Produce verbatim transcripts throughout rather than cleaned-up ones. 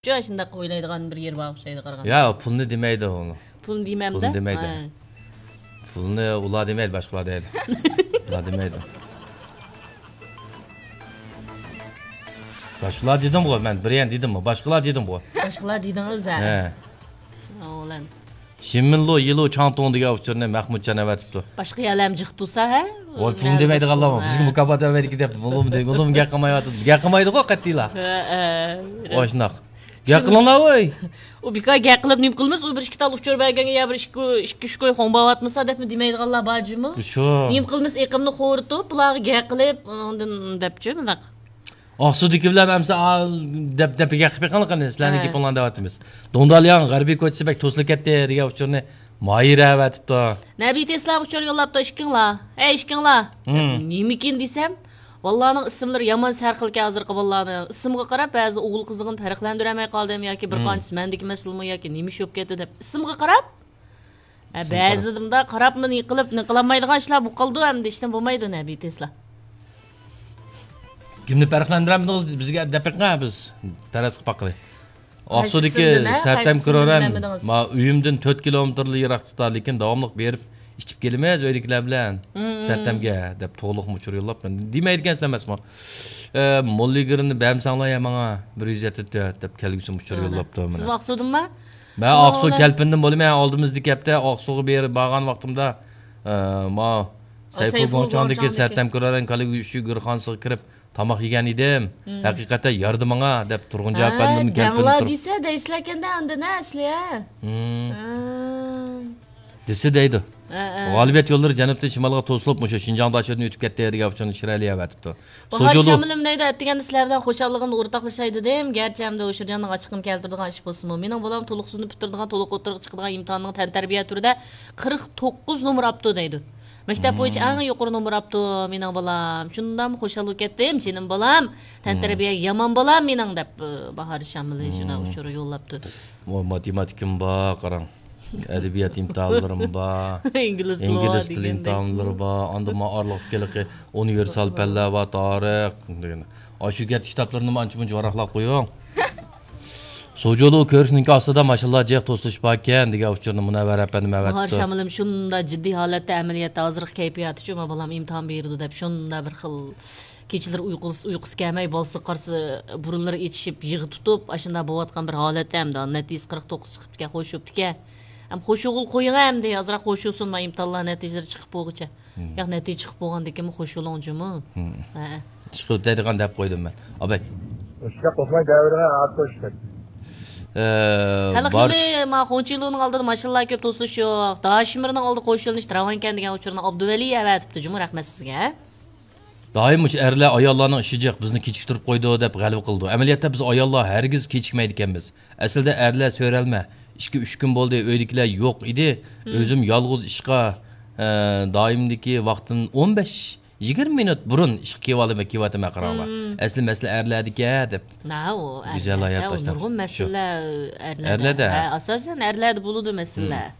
شۇنداق ئويلايدىغان بىر يېرى بار ئوخشايدۇ قارىغاندا. يا، پۇلنى دېمەيدۇ ئۇلار. پۇلنى دېمەمدۇ؟ پۇلنى دېمەيدۇ. ھە. پۇلنى ئۇلار دېمەيدۇ، باشقىلار دەيدۇ. ئۇلار دېمەيدۇ. باشقىلار دېدىمغۇ، مەن بىر يەنە دېدىممۇ؟ باشقىلار دېدىمغۇ. باشقىلار دېدىڭىز ھە. ھە. شاۋلەن. شىمىنلو يىلو چاڭتۇڭ دېگەن ئۇچۇرنى مەخمۇتجان ئەۋەتىپتۇ. باشقا يەرلەرمۇ جىق تۇرسا ھە؟ ۋاي، پۇلنى دېمەيدىغانلارمۇ بىزگە مۇكاپات ئەۋەتكى دەپ، بۇلۇم، بۇلۇم گەپ قىلمايۋاتىدۇ. گەپ قىلمايدىغۇ قەتئىيلا. ھە، ھە. ۋاي، شۇنداق. گەپ قىلىڭلار، ۋاي. ئۇ بىكار گەپ قىلىپ نېمە قىلىمىز؟ ئۇ بىر ئىككى تال ئۇچۇر بەرگەنگە يا بىر ئىككى، ئىككى ئۈچ كوي خۇڭباۋاتمىسا دەپمۇ دېمەيدىغانلار بار جۇمۇ. شۇ. نېمە قىلىمىز؟ ئېقىمنى خورىتىپ، بۇلارغا گەپ قىلىپ، ئاندىن دەپچۇ مۇنداق. ئاقسۇدىكى بىلەن ئەمسە ئا-، دەپ، دەپ گەپ قىلىپ بېقىڭلار قېنى، سىلەرنىڭ ھە. گېپىڭلارنى دەۋاتىمىز. دۇڭدالياڭ غەربىي كوچىسى بەك توسۇلۇپ كەتتى دېگەن ئۇچۇرنى ماھىرە ئەۋەتىپتۇ. نەبى تېسلا ئۇچۇر يوللاپتۇ، ئىككىڭلار. ئەي، ئىككىڭلار. ھىم. نېمىكىن دېسەم، بالىلارنىڭ ئىسىملىرى يامان سەرخىلكەن ھازىرقى بالىلارنىڭ. ئىسىمغا قاراپ بەزىدە ئوغۇل قىزلىقىنى پەرقلەندۈرەلمەي قالدىم ياكى بىر ھىم. قانچىسى مەندىكى مەسىلىمۇ ياكى نېمە ئىش بولۇپ كەتتى دەپ ئىسىمغا قاراپ ھە، بەزىدە مۇنداق قاراپمۇ نېقىلىپ، نېقىلالمايدىغان ئىشلار بولۇپ قالىدۇ، ئەمدى ئىشتىن بولمايدۇ، نەبى تېسلا. كىمنى پەرقلەندۈرەلمىدىڭىز؟ بىز، بىزگە دەپ بېقىڭ، بىز پەرەز قىلىپ باققىلى. ئاقسۇدىكى سەرتەم كۆرۈرەن، ما، ئۆيۈمدىن تۆت كىلومېتىرلا يىراقلىقتا، لېكىن داۋاملىق بېرىپ ئىچىپ كېلىمىز ئۆيدىكىلەر بىلەن. سەرتەمگە دەپ تولۇقمۇ ئۇچۇر يوللاپتۇ. دېمەيدىكەنسىلەر ئەمەسمۇ؟ ئە، موللىگىرنى بەرمىسەڭلار يا ماڭا، بىر يۈز يەتتە تۆت دەپ كەلگۈسىمۇ ئۇچۇر يوللاپتۇ. سىزمۇ ئاقسۇدىنمۇ؟ مەن ئاقسۇ كەلپىندىن بولىمەن، ئالدىمىزدىكى ھەپتە ئاقسۇغا بېرىپ بارغان ۋاقتىمدا، ئە، ما، سەيفۇ گۇڭچاڭدىكى سەرتەم كۆرەرەن كالىگۈشى گۆرخانىسىغا كىرىپ تاماق يېگەن ئىدىم. ھەقىقەتەن يارىدى ماڭا دەپ تۇرغۇن جاۋاب بەردىم. دەڭلا دېسە دەيسىلەركەندە ئاندىن ھە، ئەسلى ھە. دېسە دەيدۇ. غالىبىيەت يوللىرى جەنۇبتىن شىمالغا توسۇلۇپ، مۇشۇ شىنجاڭ داشۆدىن ئۆتۈپ كەتتى دېگەن ئۇچۇرنى شىرئەلى ئەۋەتىپتۇ. باھار شامىلىم دەيدۇ، ئەتىگەندە سىلەر بىلەن خۇشاللىقىمنى ئورتاقلىشاي دېدىم. گەرچە ئەمدى ئۇچۇرجاننىڭ ئاچچىقىنى كەلتۈرىدىغان ئىش بولسىمۇ، مېنىڭ بالام تولۇقسىزنى پۈتتۈرىدىغان، تولۇق ئوتتۇرىغا چىقىدىغان ئىمتىھاننىڭ تەنتەربىيە تۈرىدە قىرىق توققۇز نومۇر ئاپتۇ دەيدۇ. مەكتەپ بويىچە ئەڭ يۇقىرى نومۇر ئاپتۇ مېنىڭ بالام. شۇنداقمۇ خۇشال بولۇپ كەتتىم، جېنىم بالام. تەنتەربىيە يامان بالام مېنىڭ دەپ، باھار شامىلى شۇنداق ئۇچۇر يوللاپتۇ. ماتېماتىكىم بار، قاراڭ. ئەدەبىيات ئىمتىھانلىرىم بار. ئىنگلىز تىلى ئىمتىھانلىرى بار. ئاندىن ما ئارىلىقتىكى ئۇنىۋېرسال پەنلەر بار، تارىخ دېگەن. ئاشۇ گەپ كىتابلىرىنىمۇ ئانچە مۇنچە ۋاراقلاپ قويۇڭ. سوجولۇ كۆرۈشنىڭكى ئاستىدا ماشىنىلار جىق توسۇلۇشۇپ باركەن دېگەن ئۇچۇرنى مۇنەۋۋەر ئەپەندىم ئەۋەتىپتۇ. باھار شامىلىم شۇنداق جىددىي ھالەتتە ئەمەلىيەتتە ھازىرقى كەيپىياتىچۇ، ما بالام ئىمتىھان بېرىدۇ دەپ شۇنداق بىر خىل كېچىلىرى ئۇيقۇسى، ئۇيقۇسى كەلمەي، بالىسىغا قارىسا بۇرۇنلىرى ئېچىشىپ، يىغا تۇتۇپ، ئاشۇنداق بولۇۋاتقان بىر ھالەتتە ئەمدى نەتىجىسى قىرىق توققۇز چىقىپتىكەن، خوش بوپتىكەن. ئەم، خوش ئوغۇل قويۇڭ ئەمدى، ئازراق خوش بولسۇن، ما ئىمتىھانلار نەتىجىلىرى چىقىپ بولغۇچە. ياق، نەتىجە چىقىپ بولغاندىن كېيىنمۇ خوش بولۇڭ جۇمۇ. ھە. ئىشقىلىپ دەيدىغان دەپ قويدۇم مەن. ئابەي. ئىشقىلىپ دەيدىغان دەۋرىڭە ئات قوشتى. ئە، خەلق يولى، ما، خۇڭچىلۇنىڭ ئالدىدا ماشىنىلار كۆپ، توسۇلۇش يوق. داشمىرنىڭ ئالدى قوش يۆنىلىش راۋانكەن دېگەن ئۇچۇرنى ئابدۇۋەلى ئەۋەتىپتۇ جۇمۇ، رەھمەت سىزگە. دائىم مۇشۇ ئەرلەر ئاياللارنىڭ ئىشى جىق، بىزنى كېچىكتۈرۈپ قويىدۇ دەپ غەلۋە قىلىدۇ. ئەمەلىيەتتە بىز ئاياللار ھەرگىز كېچىكمەيدىكەنمىز. ئەسلىدە ئەرلەر سۆرەلمە، ئىككى، ئۈچ كۈن بولدى، ئۆيدىكىلەر يوق ئىدى. ئۆزۈم يالغۇز ئىشقا، ئە، دائىمدىكى ۋاقتىم ئون بەش، يىگىرمە مىنۇت بۇرۇن ئىشقا كېلىۋالىمەن، كېلىۋاتىمەن قاراڭلار. ئەسلى مەسىلە ئەرلەردىكەن دەپ. ھە، ئۇ گۈزەل ھايات تاشلاپ. نۇرغۇن مەسىلىلەر ئەرلەردە. ھە، ئاساسەن ئەرلەردە بولىدۇ مەسىلىلەر.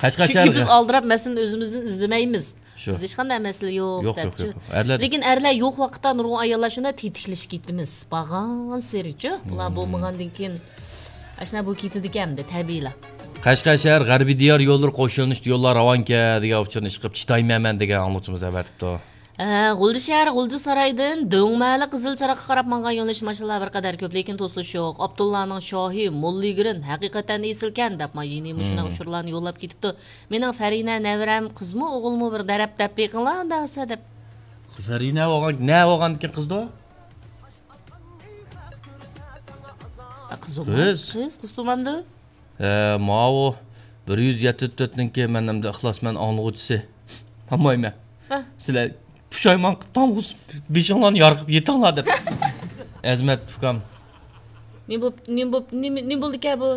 قەشقەر شەھەر. چۈنكى بىز ئالدىراپ مەسىلىنى ئۆزىمىزدىن ئىزدىمەيمىز. شۇ. بىزدە ھېچقانداق مەسىلە يوق، يوق، يوق، دەپچۇ. يوق. ئەرلەر. لېكىن ئەرلەر يوق ۋاقىتتا نۇرغۇن ئاياللار شۇنداق تېتىكلىشىپ كېتىمىز. بارغانسېرىچۇ. بۇلار بولمىغاندىن كېيىن ئاشۇنداق بولۇپ كېتىدىكەن ئەمدى، تەبىئىيلا. قەشقەر شەھەر غەربىي دىيار يوللىرى قوش يۆنىلىشتە يوللار راۋانكەن دېگەن ئۇچۇرنى ئىشقىلىپ چىدايمەنمەن دېگەن ئاڭلىغۇچىمىز ئەۋەتىپتۇ. ھە، غۇلجا شەھەر غۇلجا سارايدىن دۆڭمەلى قىزىل چىراغقا قاراپ ماڭغان يۆنىلىش ماشىنىلار بىر قەدەر كۆپ، لېكىن توسۇلۇش يوق. ئابدۇللانىڭ شاھى، موللىگىرىن، ھەقىقەتەن ئېسىلكەن دەپ، ما يېنى مۇشۇنداق ئۇچۇرلارنى يوللاپ كېتىپتۇ. مېنىڭ فەرىنە نەۋرەم قىزمۇ ئوغۇلمۇ بىر دەرەپ دەپ بېقىڭلار ئۇنداق بولسا دەپ. فەرىنە بولغان، نە بولغاندىكىن قىزدۇ؟ قىز. قىز، قىز تۇمامدۇ؟ ھە، ماۋۇ بىر يۈز يەتتە تۆتنىڭكى مەن ئەمدى ئىخلاسمەن ئاڭلىغۇچىسى. مامايمەن. ھە. سىلەر پۇشايمان قىلىپ تامغۇز بېشىڭلارنى يارقىپ يېتىڭلار دەپ. ئەزمەت ئۇكام. نېمە بوپ، نېمە بوپ، نېمە، نېمە بولدىكەن بۇ؟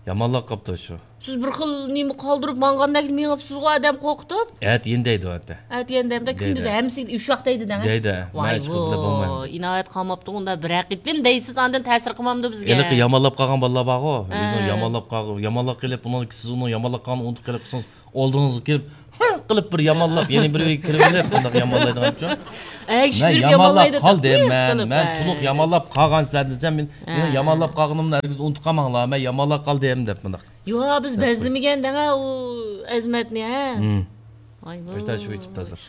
يامانلاپ قاپتۇ شۇ. سىز بىر خىل نېمە قالدۇرۇپ ماڭغاندەك مېڭىپسىزغۇ، ئادەم قورقۇتۇپ. ئەتىگەن دەيدۇ ئەتە. ئەتىگەن دەيدۇ، كۈندە دەيدۇ. ھەممىسى ئۈچ ۋاق دەيدۇ دەڭ. دەيدۇ. ۋاي، مەن ھېچ قىلىپ بولمايمەن. ئىناۋەت قالماپتۇ ئۇندا بىر ھەقىقەتلىم دەيسىز، ئاندىن تەسىر قىلمامدۇ بىزگە؟ ھېلىقى يامانلاپ قالغان بالىلار بارغۇ. ئۆزىنىڭ ھە. يامانلاپ قالغان، يامانلاپ قېلىپ، ئۇنىڭ، سىز ئۇنىڭ يامانلاپ قالغىنىنى ئۇنتۇپ قېلىپ قالسىڭىز، ئالدىڭىزغا كېلىپ، ھە، قىلىپ بىر يامانلاپ، يەنە بىر ئۆيگە كىرىۋېلىپ، بۇنداق يامانلايدىغان ئۇچۇن. ئەگىشىپ مەن يۈرۈپ يامانلاپ يامانلايدۇ قالدىم، دەپ مەن، قىلىپ، مەن ھە. تولۇق يامانلاپ قالغان سىلەردىن دېسەم، مەن، ھە. مېنىڭ يامانلاپ قالغىنىمنى ھەرگىز ئۇنتۇپ قالماڭلار، مەن يامانلاپ قالدىم دەپ مۇنداق. يو، بىز دەپ قوي. بەزلىمىگەن دەڭە ئۇ ئەزىمەتنى، ھە. مم. ئاشتا شۇ ئېيتىپتۇ ھازىر.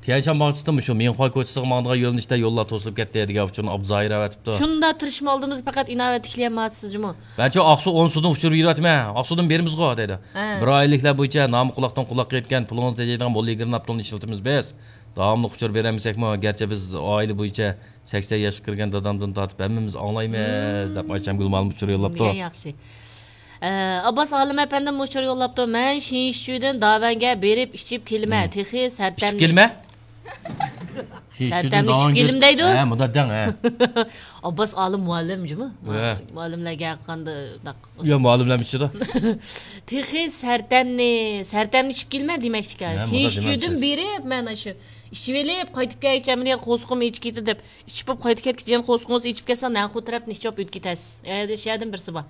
تيەنشان باغچىسىدا مۇشۇ مىڭخۇا كوچىسىغا ماڭىدىغان يۆنىلىشتە يوللار توسۇلۇپ كەتتى دېگەن ئۇچۇرنى ئابدۇزاھىر ئەۋەتىپتۇ. شۇنداق تىرىشما ئالدىمىزدا پەقەت ئىناۋەت تىكلىيەلمەيۋاتىسىز جۇمۇ. مەنچۇ ئاقسۇ ئون سۇدىن ئۇچۇر بېرىۋاتىمەن، ئاقسۇدىن بېرىمىزغۇ دەيدۇ. ھە. بىر ئايلىكلەر بويىچە نامى قۇلاقتىن قۇلاققا يەتكەن، پۇلىڭىزنى تېجەيدىغان موللىگىرناپتوننى ئىشلىتىمىز بىز. داۋاملىق ئۇچۇر بېرەلمىسەكمۇ، گەرچە بىز ئائىلە بويىچە سەكسەن ياشقا كىرگەن دادامدىن تارتىپ ھەممىمىز ئاڭلايمىز، دەپ ئايشەمگۈل مۇئەللىم ئۇچۇر يوللاپتۇ. دېگەن ياخشى. ئە، ئابباس ئالىم ئەپەندىم ئۇچۇر يوللاپتۇ. مەن شىنشىچۈدىن داۋەنگە بېرىپ ئىچىپ كېلىمەن. مم. تېخى سەرتەمنى ئىچىپ كېلىمە؟ سەرتەمنى ئىچىپ كېلىم دەيدۇ. ھە، مۇنداق دەڭ، ھە. ئابباس ئالىم مۇئەللىم جۇمۇ؟ ھە. مۇئەللىملەرگە قانداق يا، مۇئەللىملەر ئىچىدۇ. تېخى سەرتەمنى، سەرتەمنى ئىچىپ كېلىمەن دېمەكچىكەن. ھە، مۇنداق شىنشىچۈدىن دېمەكچى. بېرىپ، مەن ئاشۇ ئىچىۋېلىپ، قايتىپ كەلگۈچە مەن قورسىقىم ئېچىپ كېتىدۇ دەپ، ئىچىپ بولۇپ قايتىپ كەتكۈچە يەنە قورسىقىڭىز ئېچىپ كەتسە، نەنخۇ تەرەپتىن ئىچىپ ئۆتۈپ كېتەسىز. ئە، شۇ يەردىن بىرسى بار.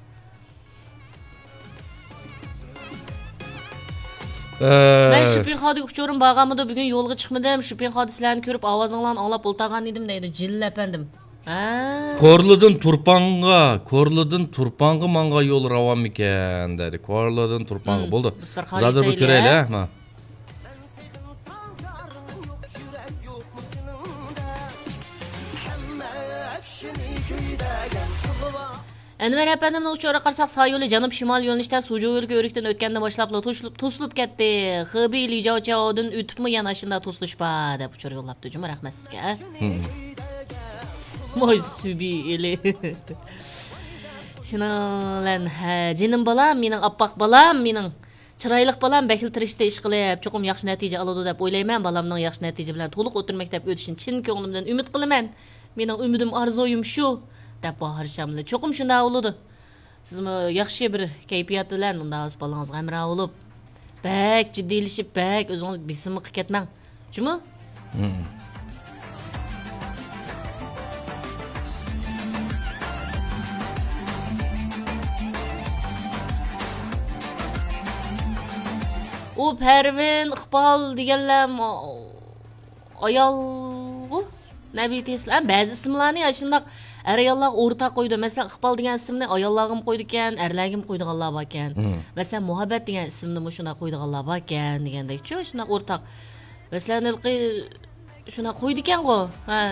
ئە. مەن شىپىخادىكى ئۇچۇرۇم بارغانمىدۇ، بۈگۈن يولغا چىقمىدىم. شىپىخادا سىلەرنى كۆرۈپ، ئاۋازىڭلارنى ئاڭلاپ ئولتۇرغان ئىدىم، دەيدۇ جېلىل ئەپەندىم. ھە. كورلىدىن تۇرپانغا، كورلىدىن تۇرپانغا ماڭغان يول راۋانمىكەن، دەيدۇ. كورلىدىن تۇرپانغا. مم. بولدى. بىز بىر بىز ھازىر بىر قارىتايلى، كۆرەيلى، ھە؟ ھە، ما. ئەنۋەر ئەپەندىمنىڭ ئۇچۇرىغا قارىساق، سايولى جەنۇب شىمال يۆنىلىشتە سۇجۇۋېلكا ئۆرۈكتىن ئۆتكەندىن باشلاپلا توسۇلۇپ، توسۇلۇپ كەتتى. خېبېي لىجاۋچياۋدىن ئۆتۈپمۇ يەنە ئاشۇنداق توسۇلۇش بار، دەپ ئۇچۇر يوللاپتۇ جۇمۇ، رەھمەت سىزگە. ھە. ۋاي سۈبى ئېلى. شۇنىڭ بىلەن، ھە، جېنىم بالام، مېنىڭ ئاپئاق بالام، مېنىڭ چىرايلىق بالام بەكلا تىرىشتى ئىشقىلىپ، چوقۇم ياخشى نەتىجە ئالىدۇ دەپ ئويلايمەن. بالامنىڭ ياخشى نەتىجە بىلەن تولۇق ئوتتۇرا مەكتەپكە ئۆتۈشىنى چىن كۆڭلۈمدىن ئۈمىد قىلىمەن. مېنىڭ ئۈمىدىم، ئارزۇيۇم شۇ، دەپ ھارشاملى. چوقۇم شۇنداق بولىدۇ. سىزمۇ ياخشى بىر كەيپىيات بىلەن مۇنداق بالىڭىزغا ھەمراھ بولۇپ، بەك جىددىيلىشىپ، بەك ئۆزىڭىز بېسىملىققا كەتمەڭ. جۇمۇ؟ مم. ئۇ پەرۋىن، ئىقبال دېگەنلەر ئايالغۇ؟ نەبىتى ئىسلام. بەزى ئىسىملارنى ئاشۇنداق ئەر-ئاياللارغا ئورتاق قويىدۇ. مەسىلەن، ئىقبال دېگەن ئىسىمنى ئاياللارغىمۇ قويىدىكەن، ئەرلەرگىمۇ قويىدىغانلار باركەن. مم. مەسىلەن، مۇھەببەت دېگەن ئىسىمنىمۇ شۇنداق قويىدىغانلار باركەن دېگەندەكچۇ، شۇنداق ئورتاق. مەسىلەن، ھېلىقى شۇنداق قويىدىكەنغۇ. ھە.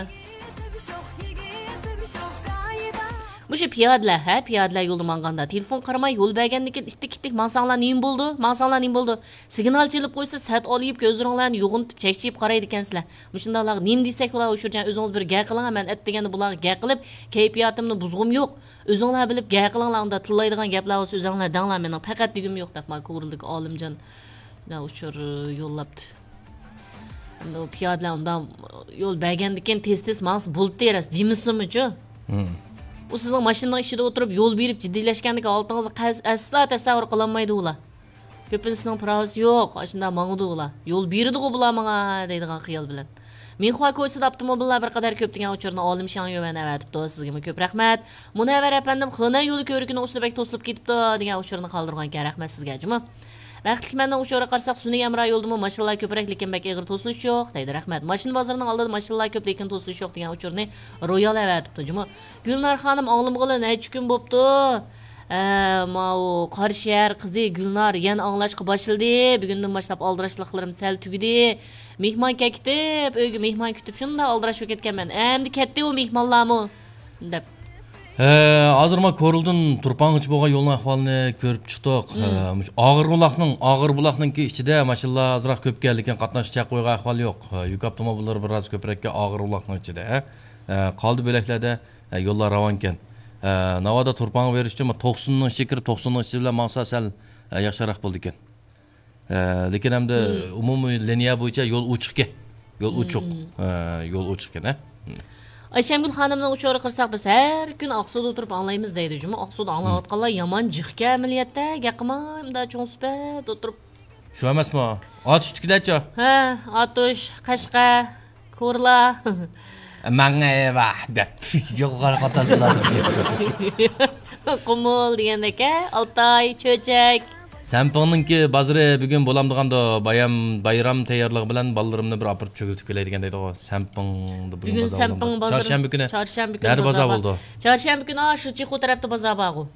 مۇشۇ پىيادىلەر، ھە، پىيادىلەر يولدا ماڭغاندا تېلېفون قارىماي يول بەرگەندىكىن ئىتتىك-ئىتتىك ماڭساڭلار نېمە بولىدۇ؟ ماڭساڭلار نېمە بولىدۇ؟ سىگنال چېلىپ قويسا، سەت ئالىيىپ كۆزلىرىڭلارنى يوغىنىتىپ چەكچىيىپ قارايدىكەنسىلەر. مۇشۇنداقلارغا نېمە دېسەكلا ئۇشۇرجان، ئۆزىڭىز بىر گەپ قىلىڭ، مەن ئەتىگەندە بۇلارغا گەپ قىلىپ، كەيپىياتىمنى بۇزغۇم يوق. ئۆزۈڭلار بىلىپ گەپ قىلىڭلار، ئۇنداق تىللايدىغان گەپلەر بولسا ئۆزۈڭلار دەڭلار، مېنىڭ پەقەت دېگۈم يوق، دەپ ما كورلىدىكى ئالىمجان ئۇچۇر يوللاپتۇ. ئەمدى ئۇ پىيادىلەر ئۇنداق يول بەرگەندىكىن تېز-تېز ماڭسا بولدى، راست دېمىسىمۇچۇ؟ مم. ئۇ سىزنىڭ ماشىنىنىڭ ئىچىدە ئولتۇرۇپ يول بېرىپ جىددىيلەشكەندىكى ھالىتىڭىزنى قەس-، ئەسلا تەسەۋۋۇر قىلالمايدۇ ئۇلار. كۆپىنچىسىنىڭ پىراۋىسى يوق، ئاشۇنداق ماڭىدۇ ئۇلار. يول بېرىدىغۇ بۇلار ماڭا دەيدىغان خىيال بىلەن. مىنخۇا كوچىسىدا ئاپتوموبىللار بىر قەدەر كۆپ دېگەن ئۇچۇرنى ئالىم شاڭيۈەن ئەۋەتىپتۇ. سىزگىمۇ كۆپ رەھمەت. مۇنەۋۋەر ئەپەندىم، خېنەن يولى كۆۋرۈكىنىڭ ئۈستىدە بەك توسۇلۇپ كېتىپتۇ دېگەن ئۇچۇرنى قالدۇرغانىكەن. رەھمەت سىزگە جۇمۇ. بەختلىك مەننىڭ ئۇچۇرىغا قارىساق، سۈنئىي ھەمراھ يولىدىمۇ ماشىنىلار كۆپرەك، لېكىن بەك ئېغىر توسۇلۇش يوق، دەيدۇ. رەھمەت. ماشىنا بازىرىنىڭ ئالدىدا ماشىنىلار كۆپ، لېكىن توسۇلۇش يوق دېگەن ئۇچۇرنى رويال ئەۋەتىپتۇ جۇمۇ. گۈلنار خانىم ئاڭلىمىغىلى نەچچە كۈن بوپتۇ. ھە، ماۋۇ قاراشەھەر قىزى گۈلنار يەنە ئاڭلاشقا باشلىدى. بۈگۈندىن باشلاپ ئالدىراشلىقلىرىم سەل تۈگىدى. مېھمان كەتكۈتۈپ، ئۆيگە مېھمان كۈتۈپ شۇنداق ئالدىراش بولۇپ كەتكەنمەن. ئەمدى كەتتى ئۇ مېھمانلارمۇ، دەپ. ھە، ھازىر ما كورلىدىن تۇرپانغىچە بولغان يولنىڭ ئەھۋالىنى كۆرۈپ چىقتۇق. مم. ھە، مۇشۇ ئاغىر بۇلاقنىڭ، ئاغىر بۇلاقنىڭكى ئىچىدە ماشىنىلار ئازراق كۆپكەن، لېكىن قاتناش چەك قويغان ئەھۋال يوق. ھە، يۈك ئاپتوموبىللىرى بىر ئاز كۆپرەككەن ئاغىر بۇلاقنىڭ ئىچىدە. ھە، قالدى بۆلەكلەردە، ھە، يوللار راۋانكەن. ھە، ناۋادا تۇرپانغا بېرىش ئۈچۈن توقسۇننىڭ ئىچىگە كىرىپ، توقسۇننىڭ ئىچى بىلەن ماڭسا سەل، ھە، ياخشىراق بولىدىكەن. ھە، لېكىن ئەمدى مم. ئومۇمىي لىنىيە بويىچە يول ئوچۇقكەن. يول ئوچۇق. مم. ھە، يول ئوچۇقكەن، ھە. مم. ئايشەمگۈل خانىمنىڭ ئۇچۇرىغا قارىساق، بىز ھەر كۈنى ئاقسۇدا ئولتۇرۇپ ئاڭلايمىز دەيدۇ جۇمۇ. ئاقسۇدا ئاڭلاۋاتقانلار يامان جىقكەن ئەمەلىيەتتە، گەپ قىلماي مۇنداق چوڭ سۈپەت ئولتۇرۇپ. شۇ ئەمەسمۇ؟ ئاتۇشتىكىدەچۇ؟ ھە، ئاتۇش، قەشقەر، كورلا. ماڭا ئەۋە دەپ يوغان قاتارسىلار. قۇمۇل دېگەندەك، ھە؟ ئالتاي، چۆچەك. سەنپىڭنىڭكى بازىرى بۈگۈن بولامدىغاندۇ؟ بايام، بايرام تەييارلىقى بىلەن بالىلىرىمنى بىر ئاپىرىپ چۆگۈلىتىپ كېلەي دېگەن دەيدىغۇ. سەنپىڭدا بۈگۈن بۈگۈن بازار سەنپىڭ بولامدۇ؟ بازىرى. چارشەنبە كۈنى. چارشەنبە كۈنى نەدە بازار بازار بولىدۇ؟ چارشەنبە كۈنى، ئا، شۇ چىخو تەرەپتە بازار بارغۇ.